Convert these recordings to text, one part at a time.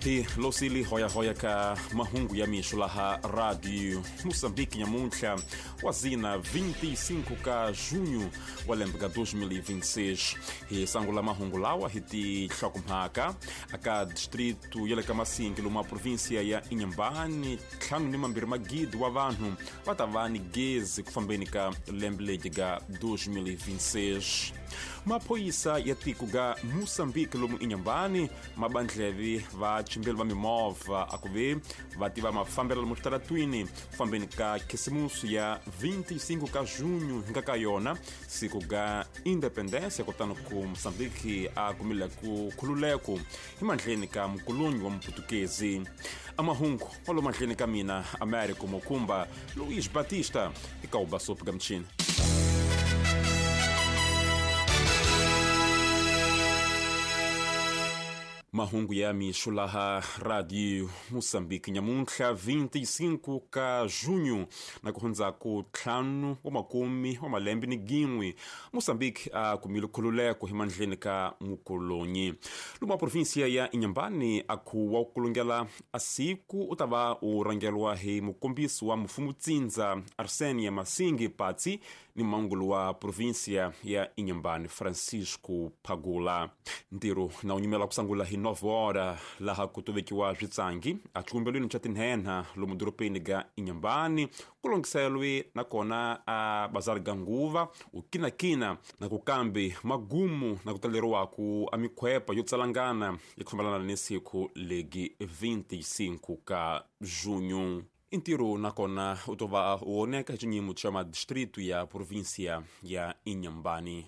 Hi losili hoyahoya ka mahungu ya mixo laha Radio Moçambique nyamuntlha wa zina 25 ka junho wa lembe ka 2026. Hi sangula mahungu lawa hi tinhlokomhaka. Aka distrito ya le ka Masingi lomu a província ya Inhambane, 52 magidi wa vanhu va ta va ni gezi ku fambeni ka lembe legi ga 2026. Maphorisa ya tiko ga Moçambique lomu Inhambane mabandlevi va chimbeli va mimovha a ku ve va tiva mafambelo lomu switaratwini ku fambeni ka khisimusi ya 25 ka junho hi nga ka yona siku ga independência, kutani ku Moçambique a kumile ku khululeko hi mandleni ka mukulunyi wa muputukezi. Amahungu walo mandleni ka mina Américo Mokumba Luís Batista eka ubasopo ga mchini. Mahungu ya mixo laha Radio Moçambique nyamuntlha 25 ka junho na ku hundzaku 5 wa makume wa malembe ni gin'we Moçambique a kumile khululeko hi mandleni ka mukolonyi. Lomu a província ya Inhambane a ku wa ku kulungela a siku u ta va u rhangeriwa hi mukombisi wa mufumutsindza Arsenia Masingi Patsi ni mangulu wa província ya Inhambane Francisco Pagula. Ntirho na wu nyimela ku sangula hi 9 hora laha ku tovekiwa switsangi a xikombelweni xa tinhenha lomu doropeni ga Inhambane ku longhiselwe nakona a bazari ga nguva u kinakina na ku kambe magumu na ku taleriwaku a mikhwepa yo tsalangana ya ku fambelana ni siku legi 25 ka junho. Ntirho nakona u to va u oneka hi xinyimo xa madistrito ya província ya Inhambane.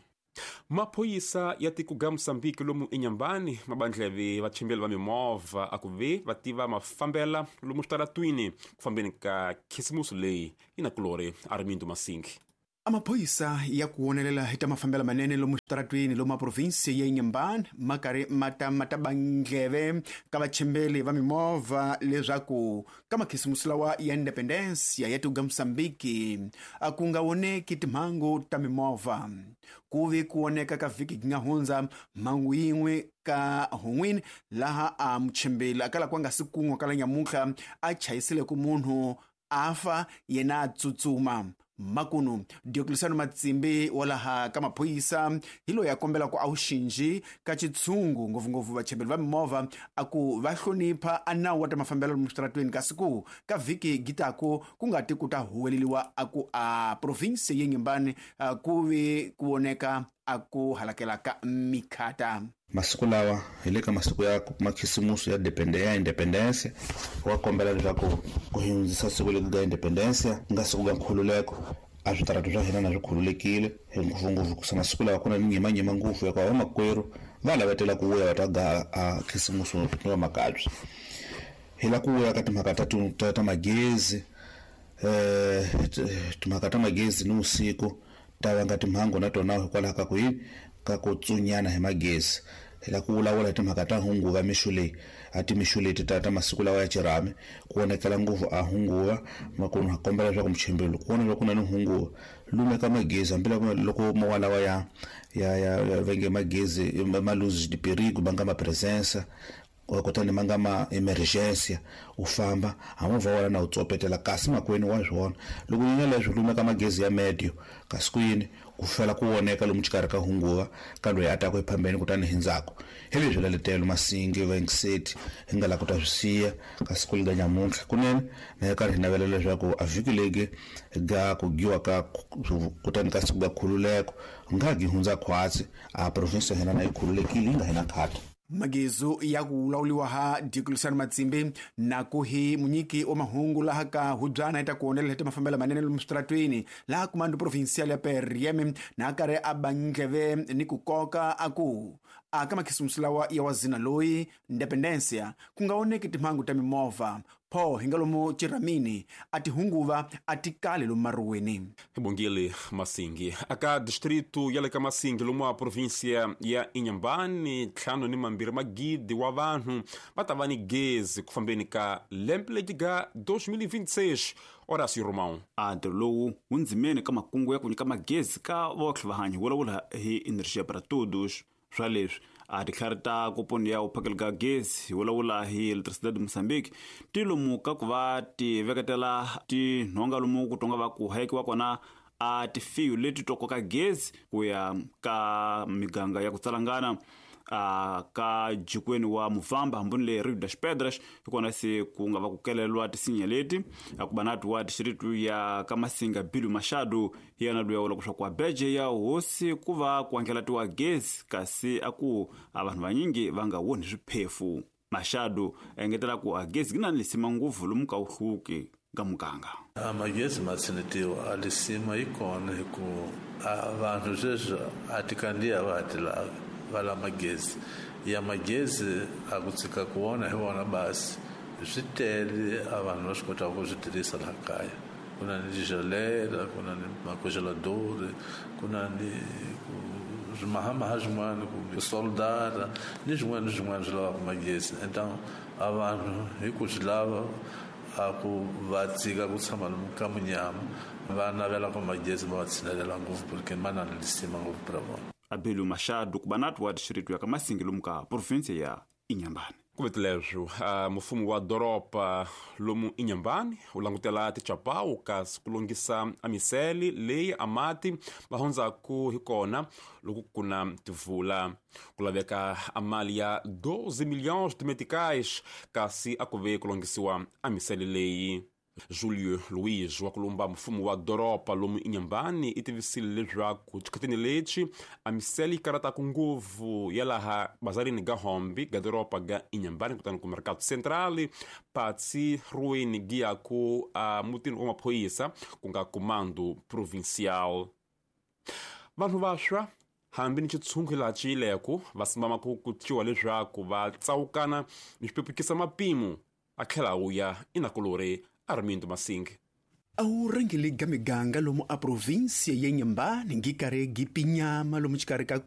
Maphorisa ya tiko ga Moçambique lomu Inhambane mabandlevi vachimbeli va mimovha a ku ve va tiva mafambela lomu switaratwini ku fambeni ka khisimusi leyi yi na kulori Armindo Masingi. Amaphoyisa ya ku wonelela hi ta mafambelo manene lomu switaratwini lomu provinsi ya Inhambane ma karhi ma ta ma ta bandleve ka vachimbeli va mimovha leswaku ka makhisimusi lawa ya independência ya tiko ga Moçambique a ku nga voneki timhangu ta mimovha. Ku vi ku voneka ka vhiki gi nga hundza mhangu yin'we ka Hon'wini laha a muchimbeli a kala ku nga si kun'wa kala nyamuntlha a chayisile ku munhu a fa yena a tsutsuma. Makunu Diocleciano Matsimbi wa laha ka maphorisa hi loyi a kombelaka a wu xinji ka xitshungu ngopfungopfu vachembeli va mimovha a ku va hlonipha a nawu wa ta mafambelo lomu switaratweni, kasi ku ka vhiki gitaku ku nga ti ku ta huweleliwa a ku a province ya Inhambane ku vi ku voneka a ku halakela ka mikhata. Masiku lawa hi le ka masiku ya makhisimusi ya ya independência, wa kombela leswaku ku hundzisa siku leri ga independência ku nga siku ga nkhululeko a switaratu swa hina na swi khululekile ngopfungopfu kusa masiku lawa ku na nyimanyima ngopfu hikuva vamakwerhu va lavetela ku vuya va ta ga a khisimusi ni vamakabye. Hi la ku vuya ka timhaka ta ta magezi, timhaka ta magezi ni vusiku ta vanga timhangu na tona hikwalaho ka ku yini ka ku tsunyana hi magezi. Hi la ku vulavula hi timhaka ta hunguva mixo leyi a timixo leti ta masiku lawa ya xirhami ku vonakela ngopfu a hunguva makunu ha kombela leswaku muchimbeli ku vona loko ku na ni hunguva lumeka magezi hambi loko mowa lawa ya ya ya va nge magezi ma luz de perigo ma nga ma presença kutani ma nga ma emergency u famba ha movha wa wena na wu tsopetela kasi makwenu wa swona loko yi nga leswi lumeka magezi ya medio kasi ku yini ku fela ku voneka lomu xikarhi ka hunguva ka loyi a taku ephambeni kutani hi ndzhaku hi leswi laletelo Masingi Vengiseti hi nga la ku ta swi siya kasi ku lega nyamuntlha kunene na hi karhi hi navela leswaku a vhiki legi ga ku giwa ka kutani ka siku ga khululeko nga gi hundza khwatsi a province ya hina na yi khululekile yi nga hina khata. Magezu ya ku lawuliwa ha Diocleciano Matsimbi na ku hi munyiki wa mahungu laha ka hubyana yi ta ku wonelela hi ta mafambelo manene lomu switaratwini laha kumando provincial ya PRM na karhi a ba ndleve ni ku koka a ku a ka makhisimusi lawa ya wazina loyi independencia ku nga oneki timhangu ta mimovha pho hi nga lomu chiramini a tihunguva a ti kali lomu maruweni. Bongile Masingi aka distrito ya le ka Masingi lomu a província ya Inhambane 52 magidi wa vanhu va ta va ni gezi ku fambeni ka lembe leti ga 2026. Horácio Romão. A ntirho lowu wu ndzimeni ka makungu ya ku nyika magezi ka votlhe vahanyi vulavula hi Energia para Todos. Swa leswi A titlhari ta koponi ya uphakelo ka gezi hi vulavula hi Electricidade de Moçambique ti lomu ka ku va ti veketela tinhonga lomu ku tonga va ku hayekiwa kona a tifiyu leti to koka gezi ku ya ka miganga ya ku tsalangana a ka jikweni wa Muvamba hambuni le Rio das Pedras, hi kona se ku nga va ku kelelwa tisinya leti. A ku va na tiwa dixiritu ya ka Masinga Bilu Machado hi yena luya vula leswaku a beje ya hosi ku va ku andlalatiwa gezi, kasi a ku a vanhu vanyingi va nga woni swiphefu. Machado a engetela ku a gezi yi na lisima ngopfu lomu ka wuhluki ka muganga. A magezi ma tshinetiwa, a lisima yi kona hi ku a vanhu sweswi a ti kandziya va ha ti lavi, va lava magezi. Ya magezi a ku tshika ku vona hi vona basi swi tele, a vanhu va swi kotaka ku swi tirhisa laha kaya. Ku na ni tigelela, ku na ni macongelador, ku na ni swimahamaha swin'wana, ku soldara ni swin'wana ni swin'wana swi lavaka magezi. Então a vanhu hi ku swi lava a ku va tshika ku tshama lomu ka munyama, va navela ku magezi ma va tshinelela ngopfu porque ma na lisima ngopfu pra vona. Abelio Machado ku va na tiwa dixiritu ya ka Masingi lomu ka provinsia ya Inhambane. Ku veti leswo, mufumi wa doroba lomu Inhambane u langutela tichapawu kasi ku lunghisa a misele leyi a mati va hundzaku hi kona loko ku na tivula. Ku laveka a mali ya 12 milhões de meticais kasi a ku ve ku lunghisiwa a misele leyi. Julio Luiz wa kulumba mfumo wa doroba lomu Inhambane i tivisile leswaku xikhatini lexi a misele yi karataku ngopfu ya laha bazarini ga Hombe ga doroba ga Inhambane kutani ku Mercado Central patsi ruweni gi ya ku a mutini wa maphoyisa ku nga Comando Provincial. Vanhu vaswa hambi ni xitshungu laha ciyileko va simbama ku kutiwa leswaku va tsawukana ni swipepukisa mapimo a tlhela wu ya inakulori Armindo Masing. A wu rhangeli ga miganga lomu a provinsia ya Inhambane ngi karhi gi pinyama lomu xikarhi ka ku